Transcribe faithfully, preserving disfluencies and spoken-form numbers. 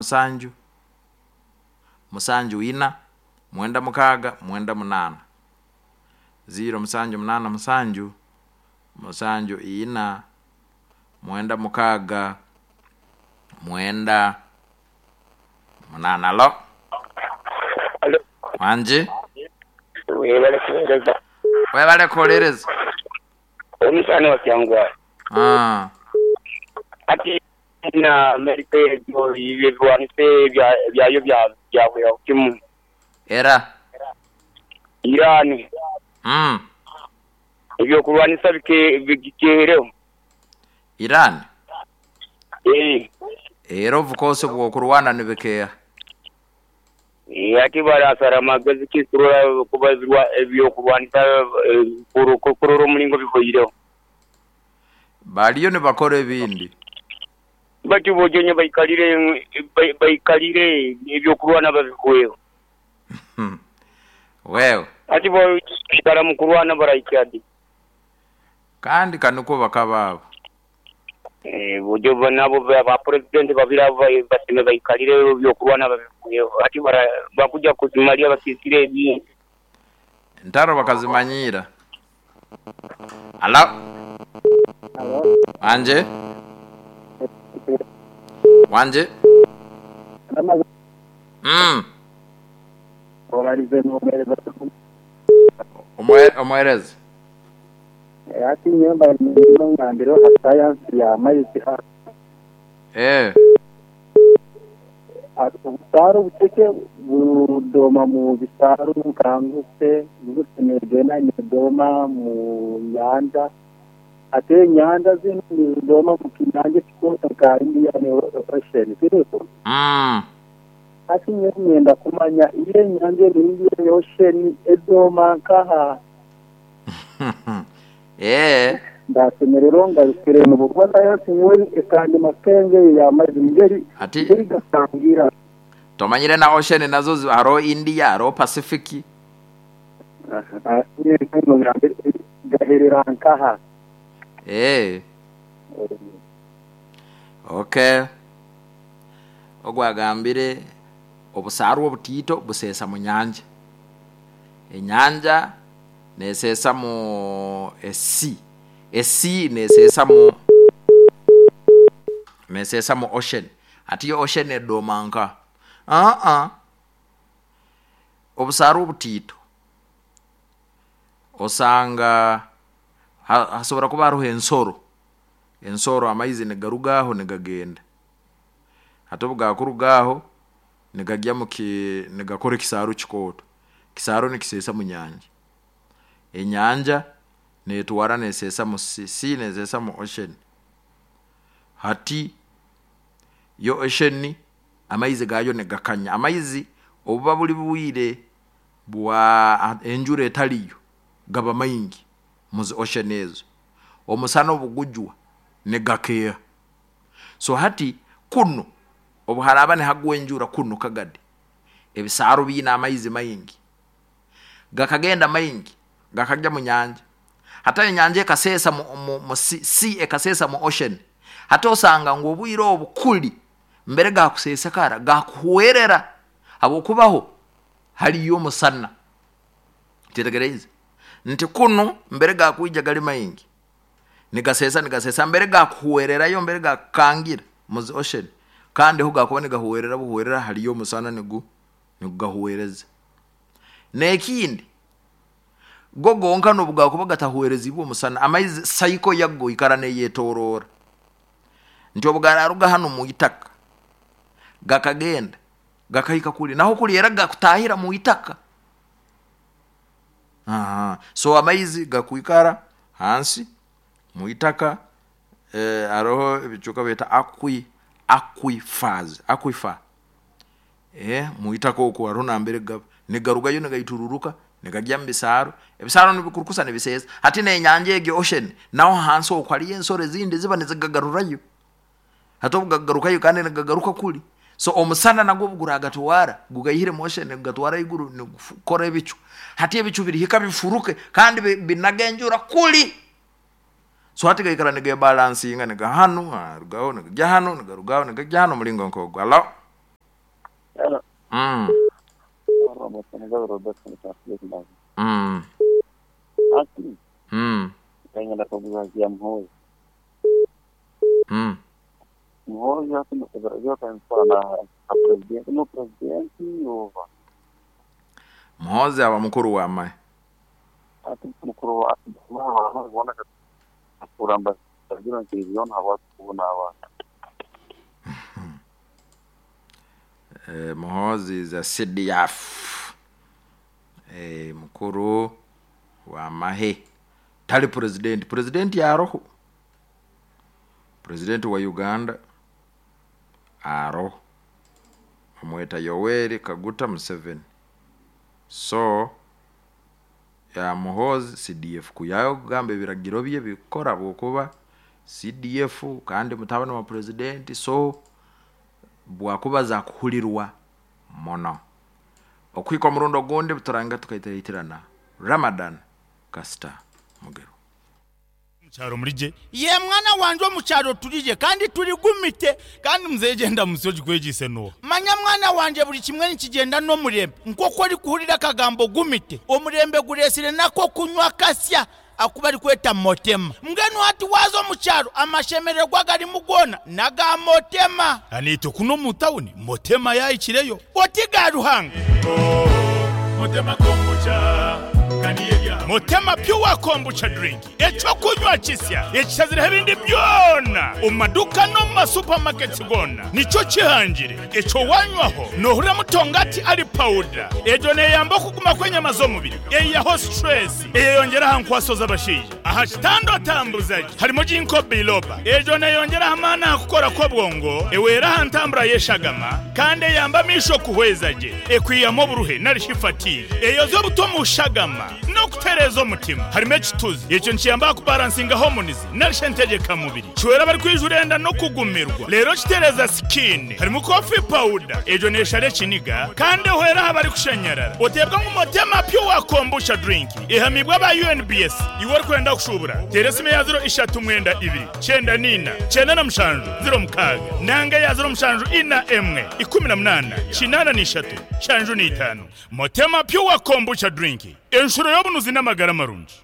Musanju musanju ina mwenda mukaaga mwenda munaana, ziro musanju munaana musanju musanju ina mwenda mukaaga mwenda munaana. Alo? Alo. Wangi? Webale kuweereza. Webale kuwuliriza. Omusaani wa Kyangwali. Ah. Ati na Amerika egyo ebirwanisa byayo byahwera kimu. Era. Iran. Mm. Ebyokurwanisa bikehereho. Iran. Eh. Era of course bwokurwana nibikeeha. Ati barasara amagezi ki kurora kuba ebyokurwanisa kurora omulingo bihweireho. Baliyo nibakora ebindi. Bati bojonye baikalire baikalire ebyokurwana babihweho. Wewe. Ati baikara mu kurwana barahika di. Kandi kanikwo bakaba abo. Eh, bojo nabo ba president babiri abo basime baikalire ebyokurwana babihweho. Ati bakuja kuzimalya basisire ebindi. Entaro bakazimanyiira. Alo? Alo. Wanje? Wanje? Mm. Olalize n'omuweereza. Omwe omuweereza. Ati nyemba ngambire ha sayansi ya maizi. Eh. Obusaaro obuceke budoma mu bisaaro nkanguse nguse negenda nedoma mu nyanja, ate enyanja zinu nizidoma mu kinyanja ekikooto nka Indian Ocean, siriko? Mm. Ati nyowe nyenda kumanya iyo enyanja eri Indian Ocean edoma nkaha? Eh. Ndasemererwa ngarukire mubukuba sayansi nyowe ekandema kenge y'amaizi ngeri Ati ngeri gasangira. Tomanyire na ocean nazo hariho India, hariho Pacific. Gaherera nkaha? Eh. Okay. Ogwagambire obusaaro obutiito buseesa mu nyanja. Enyanja neseesa mu esi. Esi neseesa mu neseesa mu ocean. Ati yo ocean edoma nka? Aa. Obusaaro obutiito osanga hasobora kuba haroho ensoro. Ensoro amaizi nigaruga aho nigagenda. Hati obu gakuruga aho nigagya muki nigakora ekisaaru kikooto. Ekisaaru nikiseesa mu nyanja. Enyanja netwara neseesa mu sea, sea neseesa mu ocean. Hati yo ocean amaizi gaayo nigakanya. Amaizi obuba buli bwire bwa enjura etaliyo gaba maingi muzi ocean ezo. Omusana obugujwa nigakeeha. So hati kunu obu haraaba nihagwa enjura kunu Kagadi, ebisaaru biine amaizi maingi. Gakagenda maingi gakagya mu nyanja. Hati enyanja ekaseesa mu, mu, mu sea, sea ekaseesa mu ocean. Hati osanga ngu obwire obu kuli mbere gakuseesekara gakuhwerera habwokubaho haliyo omusana. Kyetegereize nti kunu mbere gakwija gali maingi nigaseesa nigaseesa mbere gakuhwererayo, mbere gakukangira muzi ocean, kandi ho gakuba nigahwerera buhwerera haliyo omusana nigu nigugahwereza. N'ekindi go gonka n'obu gakuba gatahwerezibwe omusana, amaizi cycle yago ikara neyetoroora. Nti obu gararuga hanu mu itaka gakagenda gakahika kuli, naho kuli era gakutahira mu itaka. Aha. So amaizi gakwikara hansi mu itaka, eh, haroho ebicweka beeta aqui aquifers, aquifer. Eh, mu itaka oku haroho nambere gaba nigarugayo nigaitururuka nigagya mu bisaaro, ebisaaro nibikurukusa nibiseesa. Hati n'enyanja egyo ocean naho hansi oku haliyo ensoro ezindi ziba nizikagarurayo. Hati obu gagarukayo kandi nigagaruka kuli. So omusana nagwo obu guragatwara gugaihire mu ocean nigugatwara haiguru nigukora ebicu. Hati ebicu birihika bifuruke kandi binaga enjura kuli. So hati gaikara nigebalansinga niga hanu, harugaho nigagya hanu, nigarugaho nigagya hanu omulingo nk'ogwo. Alo? Hello. Mm. Mm. Mm. Mm. Muhoozi aba mukuru wamahe. Eh, Muhoozi is a C D F. Eh, mukuru wa mahe tali president. President yaroho, president wa Uganda aroho, amweta Yoweri Kaguta Museveni. So ya Muhoozi C D F kuyayo kugamba ebiragiro bye bikora bwokuba C D F kandi mutabani wa president, so bwakuba za kuhulirwa mono. Okwika omurundo ogundi buturanga tukaitaitirana Ramadan Kasita Mugero. Mukyaro mulije ye mwana wanje omukyaro tulije kandi tuligumite kandi muzegenda musoji kwegise no manya mwana wanje buli kimwe nikigenda n'omurembe nk'oku ori kuhurira akagambo gumite omurembe guresire nako kunywa kasya akuba ari kweta motema mbwenu hati waza omukyaro amashemererwa garimu gona naga motema anito kuno mu tawuni motema yayikireyo oti ga Ruhanga oh, motema kombucha Motema pure kombucha drink ekyokunywa kisya ekishazireho ebindi byona omu maduka no mu masupamaketi gona nikyo kihangire ekyo wanywaho nohurira mutongati ari powder egyo neyamba okuguma kw'enyama z'omubiri eyiyaho stress eyeyongera aha nkwaso z'abashaija aha kitando atambuzaje harimo ginkgo biloba egyo neyongera amaani aha kukora kw'obwongo ewera aha ntambura y'eshagama kandi eyamba amisho kuhweza gye ekwiyamu oburuhe narishi fatigue eyoza obuto mu shagama no kutereza omutima harimo ekituzi ekyo nikiyamba kubalansinga hormones narishe entegeka mubiri kiwera bari kwijurenda no kugumirwa rero kitereza skin harimo coffee powder egyo neshara ekiniga kandi ehwera aha bari kushanyarara otebwa ngu Motema pure kombucha drink ehamibwa aba U N B S iwe orikwenda kushubura tera esimu ya ziro ishatu mwenda ibiri kyenda nina kyenda na mushanju ziro mukaaga nanga ya ziro mushanju ina emwe ikumi na munana kinana n'ishatu shanju n'itano. Motema pure kombucha drink enshuro y'obunuzi n'amagara marungi.